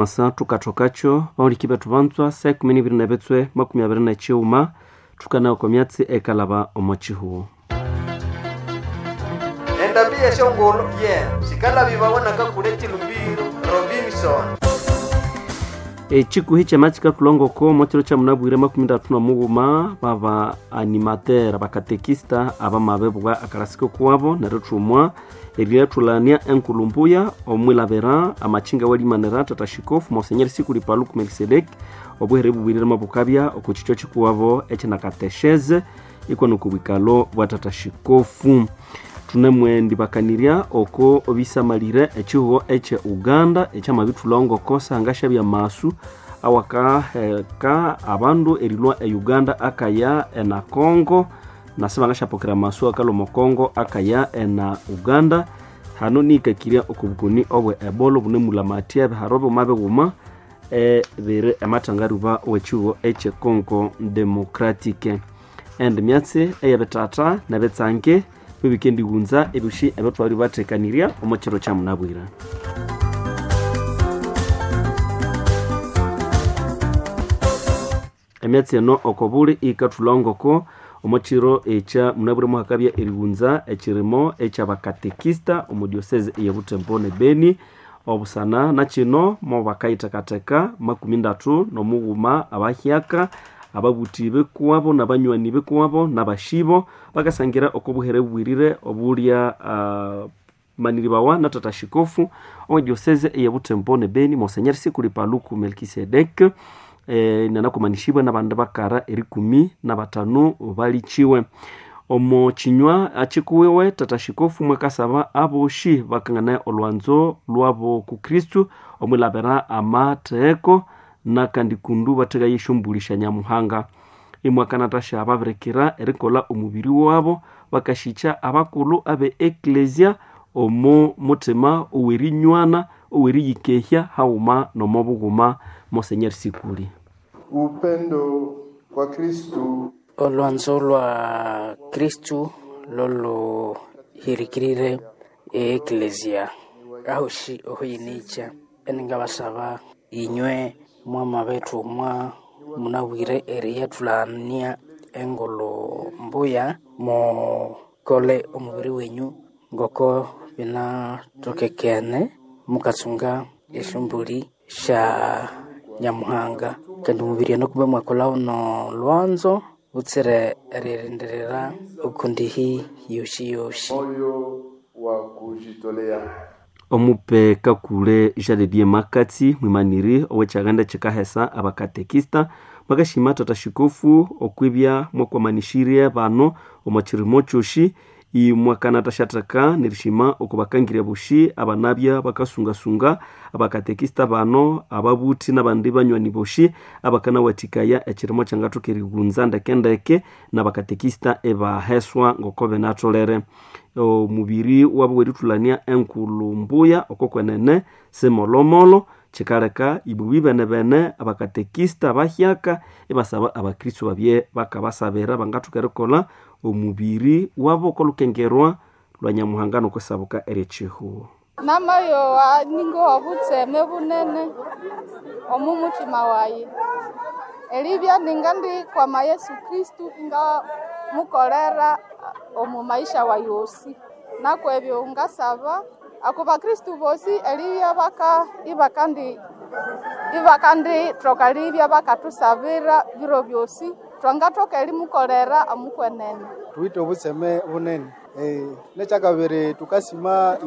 Masa thukathokakyo bahuliki bethu banzwa saa ikumi nibiri nebitswe makumi abiri nekighuma thukanawa okwa myatsi eyikalhaba omo kihugho. Endambi y'esyongulhu ye sikalhabibawa nakakule Chilumbiro Robinson. Ekikuhi kyama kikathulha ngoko omo kiro kyamunabwire makumi ndatu nomughuma baba animateur abakatekista abamabibwa akalasiko kuwabo nerithumwa eriyathulania enkulhu mbuya omwilabira amakinga awalimanira tata shikofu Monsenyeri Sikuli Paluku Melkisedeki obuhere bubwirire mabukabya oko kikyo kikuwabo ekinakatesheze ikwa noko bwikalo bwa tata shikofu. Thunemwendibakanirya oko bisamalire ekihugho ekye Uganda ekyamabithulha ngoko sangashabya amasu awakaheka abandu erilhwa e Uganda akaya ena Congo nasi bangasyapokera amasu akalhwa omo Congo akaya ena Uganda. Hano nihikakirya oko bukoni obwe Ebola obunemulamathya ebiharo bighuma bighuma ebiri emathangaruba owekihugho ekye Congo Democratic. Endi myatsi eyebithatha nebitsange bibikendighunza ebyosi ebyathwali bathekanirya omo kiro kyamunabwire. Emyatsi eno oko buli iyikathulha ngoko omo kiro ekya munabwire muhakabya erighunza ekirimo ekyabakatekista omo diocese eye Butembo ne Beni. Obusana nakino mobakayithekatheka makumi ndatu nomughuma abahyaka ababuthi bikuwabo nabanywani bikuwabo nabashibo bakasangira oko buhere bubwirire obulya maniribawa na tata shikofu owe diocese eye Butembo ne Beni Monsenyeri Sikuli Paluku Melkisedek nanakumanishibwa nabandi bakara erikumi nabatanu balichiwe. Omo kinywa akikuwiwe tata shikofu mwakasaba aboshi bakanganaye olwanzo lwabo ku Kristu omwilabira amatheko nakandi kundu bathekaye esyombulho Nyamuhanga. Imwakanathasya ababirikira erikolha omubiri wabo bakashikya abakulhu abe eklesia omo muthima owerinywana oweriyikehya haghuma nomo bughuma. Monsenyeri Sikuli. Upendo kwa Kristu. Olwanzo lwa Kristu loluhirikirire e eklesia ahoshi ohuyinikya eningabasaba inywe mwamabithumwa munabwire eriyathulania engulhu mbuya mukole omubiri wenyu ngoko binatokekene mukatsunga esyombuli sya Nyamuhanga kandi omubiri ono kumbe mwakolha wuno lwanzo butsire eririndirira okundihi yosi yosi. Moyo wa kujitolea. Omupe Kakule Jean Makatsi mwimaniri owekyaghanda kyikahesa abakatekista mwakashima tata shikofu okwibya mwakwamanishirye bano omo kirimo kyosi imwakanathasyatheka nerishima okubakangirya bosi abanabya bakasungasunga abakatekista bano ababuthi nabandi banywani bosi abakanawathikaya ekirimo kyangathoka erighunza ndekendeke nabakatekista ibaheswa ngoko binatholere. Omubiri wabu werithulania enkulhu mbuya oko kwenene simolhomolho kikaleka ibubi benebene abakatekista bahyaka ibasaba abakristo babye bakabasabira bangathoka erikolha omubiri wabo okolukengerwa lwa Nyamuhanga nokwisabuka eryekihugho. Namayowa ningowa butseme bunene omu muthima wayi eribya ningandikwama Yesu Kristu ingamukolera omu maisha wayi osi nakwebyo ngasaba ako bakristu bosi eribya baka ibakandithoka eribya bakathusabira biro byosi thwangathoka erimukolera omukwenene. Thuwithe obutseme bunene nekyakabiri thukasima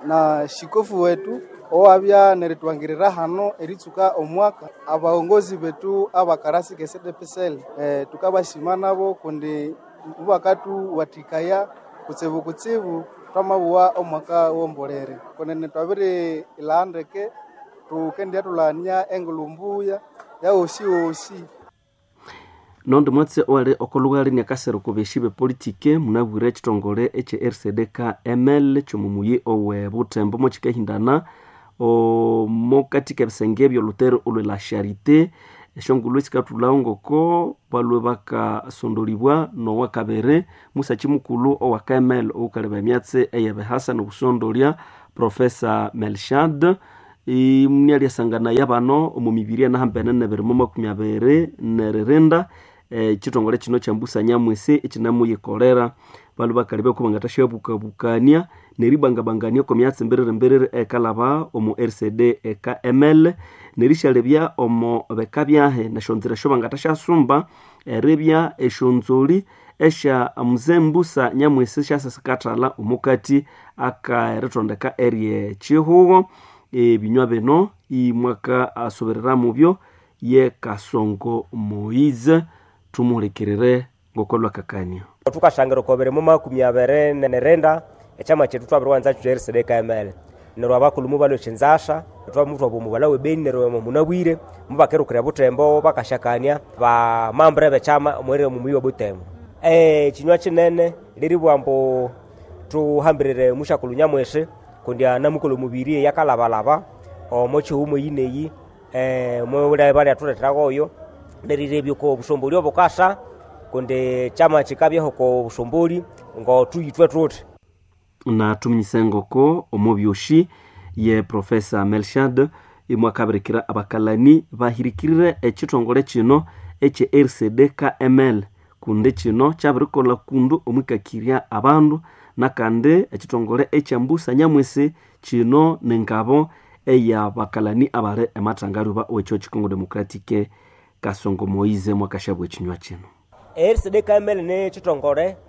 na shikofu wethu owabya nerithwangirira hano eritsuka omwaka abaongozi bethu abakarasi kesedepesele thukabasima nabo kundi mubakathuwathikaya kutsibu kutsibu thwamabuwa omwaka wombolere kunene twabiri ilha ndeke thukendyathulania engulhu mbuya yawosi wosi. Nondi mwatsi owali okolhughali niakasere oko beshi bepolitike munabwire ekithongole ekye RCD-KML kyomumuyi owe Butembo mokikahindana omokathika ebisenge ebyolhutere olwe la Charité esyongulhu esikathulhawo ngoko balhwe bakasondolibwa nowakabiri musakyi mukulhu owa KML owukaleba emyatsi eyebihasa nobusondolya Professor Melchad. Imyalyasanganaya bano omu mibiri enahambene nebirimo 24 neririnda ekitongole kino kya Mbusa Nyamwisi ekinemuyikolera. Balwe bakalebya ko bangathashabukabukania neribangabangania oko myatsi mbiriri ekalaba omu RCD EKML, nerishalebya omo beka byahe nesyonzira esyo bangathashyasumba eribya esyonzoli esya Mzee Mbusa Nyamwisi syasasikathalha omukati akaeritondeka eryekihugo. Ebinywa bino imwaka asuberera mubyo ye Kasongo Moise. Tumuhulikirire ngokolwakakania. Tukashangira oko birimo 29 ekyama kyethu twabiriwanza kyo RCD KML. Neryo abakulhu mubalhwa ekyinzasha, twamutwa omubalha w'ebeni neryo munabwire mubakerukira Butembo bakashakania bamambure b'ekyama omweri omuyi wa Butembo. Ekinywa kinene liribugha ambu thuhambirire mushakulhu Nyamwisi kundi anamukolha omubiri eyakalabalaba omo kihugho eyineyi, balyathuletheragoyo nerirebya oko busomboli obukasa kundi kyama kikabyaho oko busomboli ngothuyithwe thuthi. Na tuminyise ngoko omubyoshi ye Profesa Melshad imwakabirikira abakalani bahirikirire ekitongole kino ekye RCD KML kundi kino kyabirikolha kundu omwikakirya abandu, nakandi ekitongole ekya Mbusa Nyamwisi kino nengabo eyabakalani abali emathangaluba wekyo Kikongo Democratic. Kasongo Moise mwakashabwa ekinywa kino. RCD KML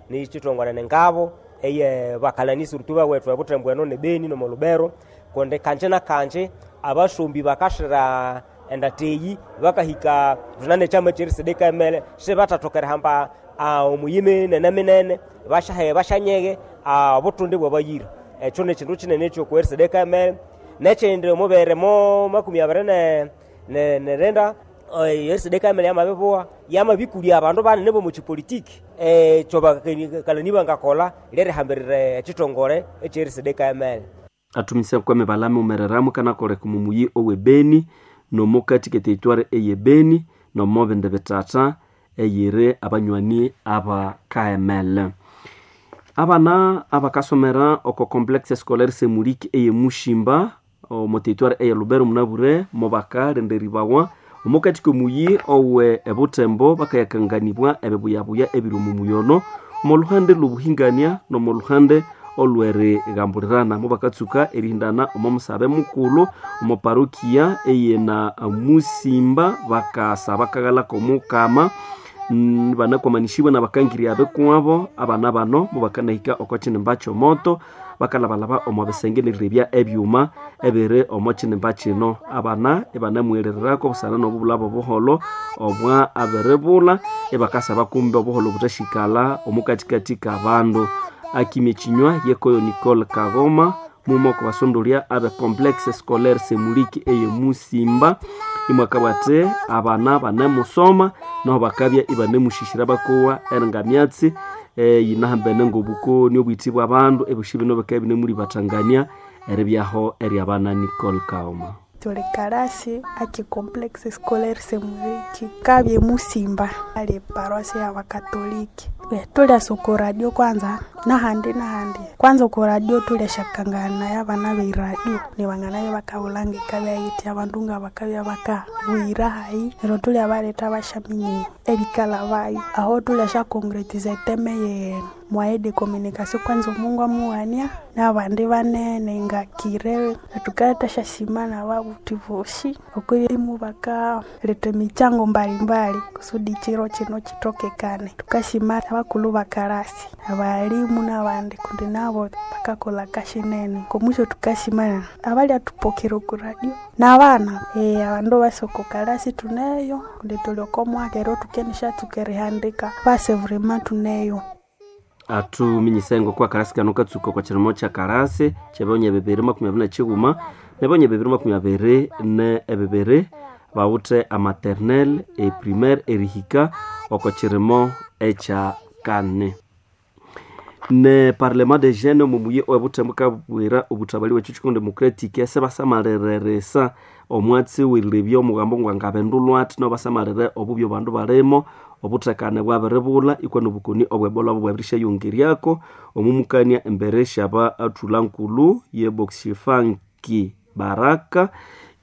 ni kitongole nengabo eye bakalani surutu bawethu ebutembo eno ne Beni nomo Lubero, kundi kanje na kanje abasombi bakashira endateyi bakahika runane kyama kye RCD KML sibathathokera hamba omuyimi nene minene bashahe bashanyeghe obutundi bwabayira. Ekyo nekindu kinene ekyoku RCD KML. Nekyindi omubere mo 29 RCD KML yamabibuwa yamabikulya abandu banene bomu kipolitiki. Ekyo bakalani bangakolha lyerihambirira ekitongole ekye RCD KML. Atumise kwame balami umereramu kanakoleka omumuyi owe Beni nomukati ke territoire eye Beni nomo bindi bitata eyiri abanywani aba KML. Abana abakasomera oko complexe scolaire Semuliki eye Mushimba omo territoire eye Lubero munabure mubakalindiribwawa omukati komuyi owe ebutembo bakayakanganibwa ebibuyabuya ebiri omu muyono omo luhande lw'obuhingania nomo luhande olw'erigambulirana. Mubakatsuka erihindana omo musabe mukulhu omo parokia eyena Musimba bakasaba akaghalako omukama banakwamanishibwa nabakangirya abekuwabo. Abana bano mubakanahika oko kinimba ky'omoto bakalabalaba omo bisenge nerirebya ebyuma ebiri omo kinimba kino. Abana ibanamuherererako busana n'obubulabo obuholho obwa abiribulha ibakasaba kumbe obuholho buthasyikala omukatikati kabandu. Akimya ekinywa yekoyo Nicole Kagoma muma oko basondolya abe complexe scolaire Semuliki eye Musimba imwakabwa athi abana banemusoma naho bakabya ibanemushishira bakowa eringa myatsi yinahambene ng'obukoni obwiti bw'abandu ebyosi bino bikabya ibinemulibathangania eribyaho eryabana. Nicole Kaoma. Tuli kalasi aki complexe scolaire Semuliki kabye Musimba ali paroasi ya Bakatoliki. Tulyasa oku radio kwanza nahandi nahandi kwanza oku radio tulyashakangana yabana be radio nibanganayo bakabulanga ikabya yiti abandu nga bakabya bakabwira hayi neryo tulyabaletha bashaminya ebikala bayo aho tulyasha concretiza eteme ye moyen de communication kwanza Omungu amughania nabandi banene nga kire thukaleta syasima nababuthi bosi okwimu bakaletha emichango mbalimbali kusudi chiro kino kitokekane. Tukasima abakulhu bakalasi abalimu nabandi kundi nabo bakakolha kashinene. Komusyo tukasima abalyathupokera oku radio nabana abandu basi oko kalasi tuneyo kundi thuli oko mwaka ero thukenishatsuka erihandika basi vraiment tuneyo. Atuminyise ngoko akarasi kano katsuka okwa kirimo kya karasi kyebyonya 2021 nebyonya 2022 bawuthe amaternel eprimaire erihika oko kirimo ekya kane. Ne parlement de jeunes omumuyi owebuthembu kabwira obuthabali bwekyo Congo Democratic sebasamalireresa omwatsi werirebya omugambo ngwangabendulwa athi nobasamalire obubi abandu balimo obuthekane bwabiribulha ikwa nobukoni obwebola bwabirishayongeryako omumukania embere syaba athula nkulhu ye Boxifanki. Baraka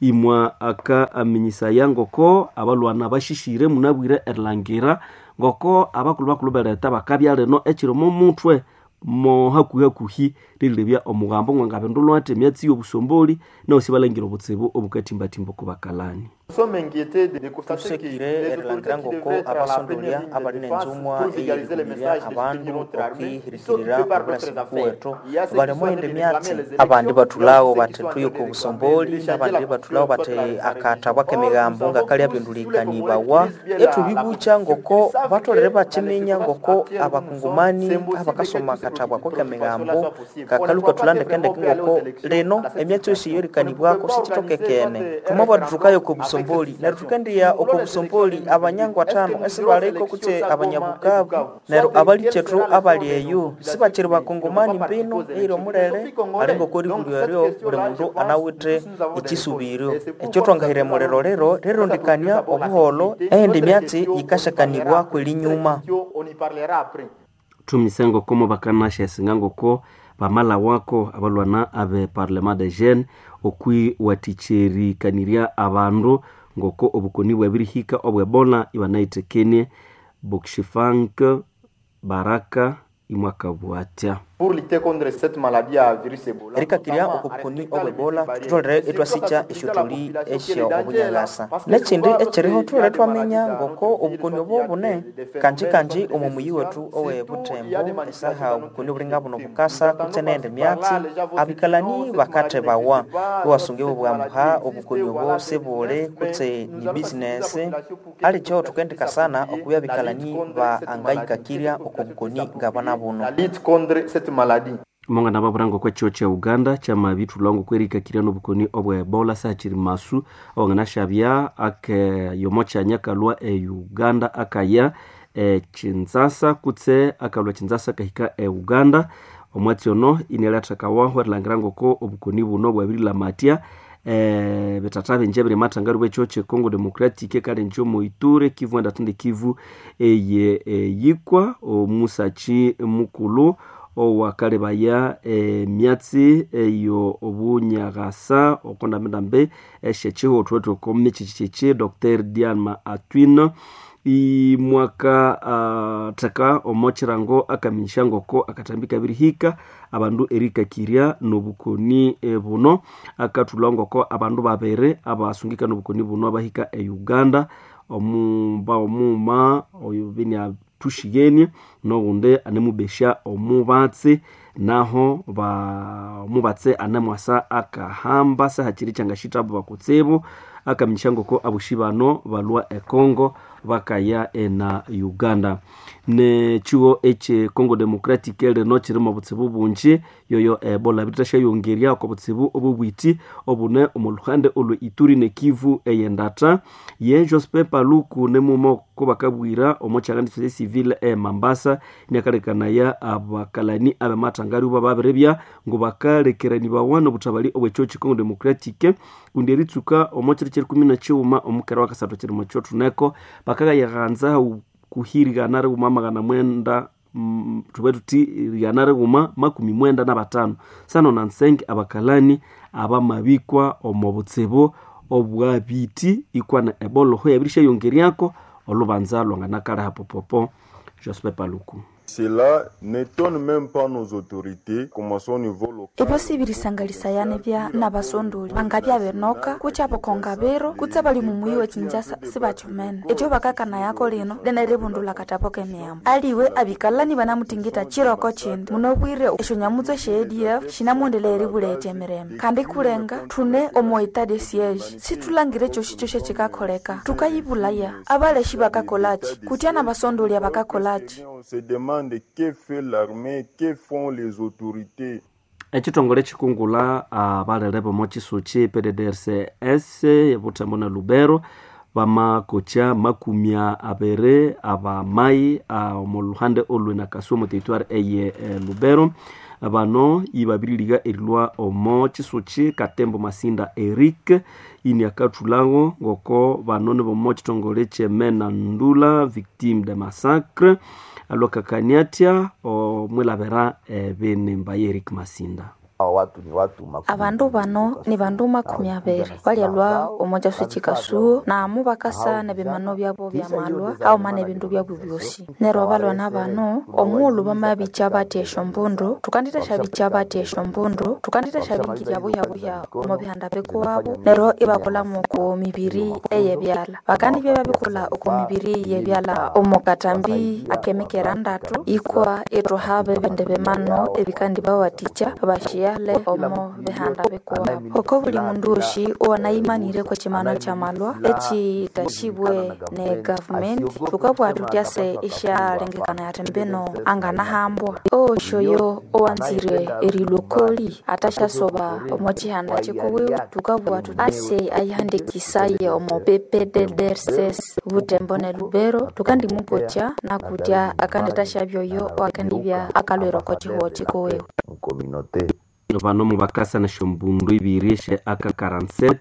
imwa aka aminyisaya ngoko abalwana bashishire munabwire erilangira ngoko abakulhu bakulhu beleta bakabya lino ekiri momutwe mo hakuhi-hakuhi rilebya omugambo ngwangabindulwa ati emyatsi y'obusomboli naho sibalangira obutsibu obukatimbatimba oko bakalani. Tusekire erilangira ngoko abasondolya abali nenzumwa eyerikumirya abandu okwihirikirira obulasi buwethu bali omughindi emyatsi. Abandi bathulhawo bathi thuye oko busomboli, abandi bathulhawo bathi akathabu akemigambo ngakalya abindulikanibawa. Ethubibukya ngoko batholere bakiminya ngoko abakungumani abakasoma akathabu ako kemigambo kakalhwa ikathulha ndekendeke ngoko lino emyatsi yosi eyerikanibwako sikyithokekene. Thwamabugha thuthi thukaya oko busomboli neryo thukendiya oko busomboli abanyangu athanu esibaliko kutse abanyabukavu, neryo abalikyethu abali eyo sibakyiri bakongomani mbino eyiri omulere ali ngoko eribulyo eryo buli mundu anawithe ekyisubiryo. Ekyo thwangahira emuliro liro rirondekania obuholho eyindi myatsi yikasyakanibwa kwelinyuma. Thumise ngoko mubakanasyasinga ngoko bamalhawako abalwana abe Parlement des Jeunes okwiwathikya abandu ngoko obukoni bwabirihika obw'Ebola ibanayithekenie Bokshifank Baraka imwakabugha athya. Erikakirya oko bukoni obw'Ebola thutholere ithwasikya esyothuli esyo obunyalasa. Nekyindi ekyiriho thutholere ithwaminya ngoko obukoni obo bune kanji-kanji omo muyi wethu owe Butembo esaha obukoni obulinga buno bukasa kutse neyindi myatsi abikalani bakathebawa iwasunga ibabugha ambu ha obukoni obo sibuli kutse ni business. Alikyo thukendikasana okubya abikalani baangayikakirya oko bukoni ngabana buno. Mongana babura ngoko ekyo kya Uganda kyamabithulha ngoko erikakirya n'obukoni obwa Ebola sihakiri masu owanganasyabya ake yomo kyanya akalhwa e Uganda akaya e Kinshasa kutse akalhwa Kinshasa akahika e Uganda. Omwatsi ono inialyathekawaho erilhangira ngoko obukoni buno bwabirilamatya bithatha bingi ebiri amathangaru bw'ekyo kye Congo Democratic ekalenja omo Ituri, Kivu endathindi Kivu eye eyikwa. Omusakyi mukulhu owakalebaya emyatsi eyo obunyaghasa oko ndambi-ndambi esyekyihotho oko mikyikyi Dr. Diana Atwine imwaka theka omo kyirango akaminyisya ngoko akathambi kabirihika abandu erikakirya n'obukoni buno. Akathulha ngoko abandu babiri abasungika n'obukoni buno abahika e Uganda, omumba omughuma oyo biniathushiyenie n'oghundi anemubesya omubatsi naho omubatsi anemwasa akahamba sihakiri kyangasyithabu bakutsibu. Akaminyisya ngoko abosi bano balhwa e Congo bakaya ena Uganda. Nekyigho ekye Congo Democratic lino kyirimu obutsibu bungi yoyo Ebola birithasyayongerya oko butsibu obobwiti obune omo luhande olwe Ituri ne Kivu eyendatha. Ye Jospin Paluku nimughuma oko bakabwira omo kyaghandiso kye civil e Mambasa iniakalekanaya abakalani abamathangaru babiribya ngu bakalekeranibawa n'obuthabali obw'ekyo kye Congo Democratic kundi eritsuka omo kiro kyerikumi na kighuma omukera wakasathu kyirimo kyothuneko bakagayaghanza kuhirigana righuma 900 thube thuthi 195 sano nansenge abakalani abamabikwa omo butsibu obwabiti ikwana Ebola ho yabirisyayongeryako olubanza lwanganakaleha popopo. Jospin Paluku. Cela n'étonne même pas nos autorités, commençons au niveau local. Ebyo sibirisangalisayana bya nabasondoli bangabya benoka kutse abakonga biro kutse bali mumuyi we Kinshasa sibakyomene. Ekyo bakakanayako lino lina eribundulha akatabo k'emiyambo aliwe abikalani banamuthingitha kiroko kindi munobwire esyonyamutso esya ADF shinamwendeleya eribuletya emirembe kandi kulenga thune omo etat de siege sithulangire kyosi-kyosi ekyikakholeka. Thukayibulaya abaleshi bakakolaki kutya nabasondoli abakakolaki. On se demande que fait l'armée, que font les autorités. Ekithongole kikungula abalere b'omo kisuki PDDRCS Butembo na Lubero bamakokya 20 abamayi omu luhande olwe Nakaswa omu territoire eye Lubero. Bano ibabiririga erilwa omo kisuki Katembo Masinda Eric ini akathulhawo ngoko bano nibomo kithongole kyemena Ndula victime de massacre alwakakania athya omwilabira ebinimba ye Eric Masinda. Watu ni watu Abandu bano ni bandu 20 balyalwa omo kyasu kikasuo namu bakasa nebimano byabo byamalwa auma nebindu byabo byosi. Neryo abalwana bano omughulhu bamabikya bathi esyombundu tukandithashabikya bathi esyombundu tukandithashabingirya buhyabuhya omo bihanda bikuwabo neryo ibakolhamu oko mibiri eyebyalha. Bakandibya babikolha oko mibiri yebyalha omo katambi akemikera ndatu ikwa ithwahaba ebindi bimano ebikandibawathikya bashiyale omo bihanda bikuwabo. Oko buli mundu osi owanayimanire kwekimano kyamalwa ekithasibwe ne gavumenti thukabugha thuthi ase isyalengekana athi mbino anganahambwa. Owosi oyo owanzire erilhwa okoli athasyasoba omo kihanda kikuwiwe thukabugha thuthi ase ayihandikisaye omo PPDDRCS Butembo ne Lubero thukandimupokya nakutya akandithasyabya oyo owakandibya akalhwira oko kihugho kikuwiwe. Bano mubakasa nesyombundu ibiri esye AK47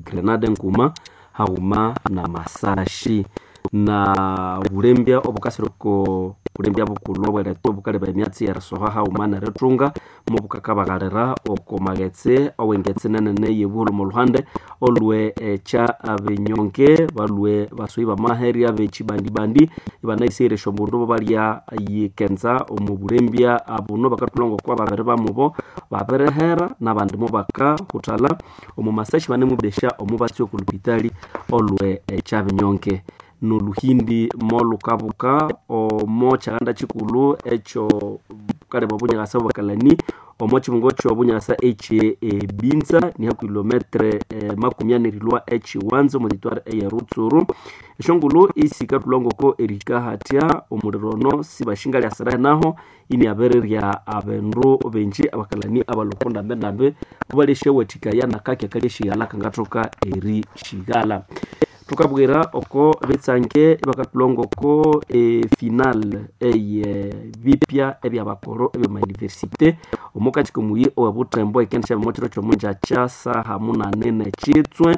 grenade nguma haghuma na masashi na bulembya obukasira oko bulembya bukulhu obweretwa obukaleba emyatsi yerisoha haghuma nerithunga mubukakabaghalira oko maghetse owengetse nenene yebuholho omo lhuhande olwe ekya abinyonge balhwe basoyi bamaherya abekibandibandi ibanayisighere esyombundu bobalya yikenza omu bulembya buno. Bakathulha ngoko ababiri bamubo babirihera nabandi mubakahuthalha omu masashi banemubesya omubatsi oku lupitali olwe ekyabinyonge. Noluhindi molukabuka omo kyaghanda kikulhu ekyo bukaleba obunyakasa obwakalani omo kibungo kyobunyakasa ekye ebinza nihakuhi kilometre 40 erilhwa ekiwanza omo territoire eye Rutsuru. Esyongulhu isikathulha ngoko erihika hatya omuliro ono sibashingalyasira naho iniabirirya abandu benji abakalani abalhwa oko ndambendambi kubalyasyawathikhaya nakaki akalyashighalha kangathoka erishighalha. Thukabwira oko bitsange ibakathulha ngoko efinal eye bipya ebyabakoro ebyoma university omo kakyi komuyi owe Butembo ikendisyaba omo kiro kyomungyakya saha 8 nekitswe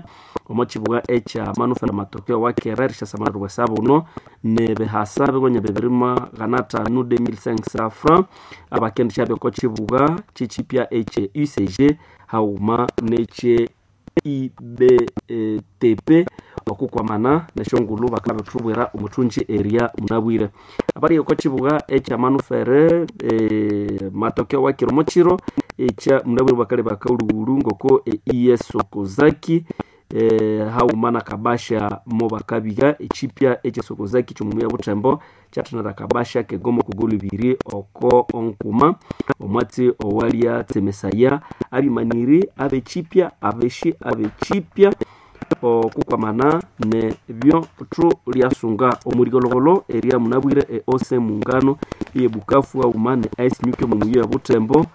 omo kibugha ekya manufera matokeo wakera erisyasamalirwa esabuno nebihasa bigonya 2500 2500 francs abakendisyabya oko kibugha kyikyipya ekye UCG haghuma nekye IBTP okukwamana nesyongulhu bakabithubwira omuthungi eria munabwire. Abali oko kibugha ekya manufere matokeo wakiro mukiro ekya munabwire bakaleba akaghulhughulhu ngoko ES Sokozaki haghuma na kabasha mubakabigha ekyipya ekya Sokozaki kyomuyi Butembo kyathanira kabasha kegomo kogolo ibiri oko onkuma omwatsi owalya tsemesaya abimaniri abekyipya abeshi abekyipya okukwamana nebyo thulyasunga omuligologolo eria munabwire eose mungano eye Bukavu haghuma ne Ice Nyuki omu muyi wa Butembo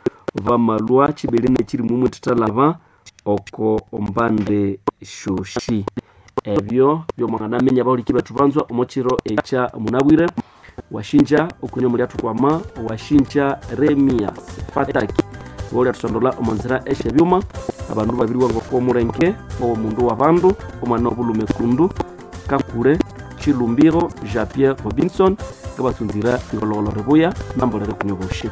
bamalhwa kibiri nekiri mumwe thithalaba oko ombande shoshi. Ebyo byomwanganaminya abahuliki bethu banzwa omo kiro ekya munabwire. Washinja okunywa mulyathutwama washinja Remias Fataki bolyathusondolha omo nzira esyebyuma abandu babiriwa ngoko omulenge owomundu wabandu omwana obulhume kundu Kakule Chilumbiro Jean Pierre Robinson ngabatsunzira ighologolo ribuya nambolere kunywa boshi.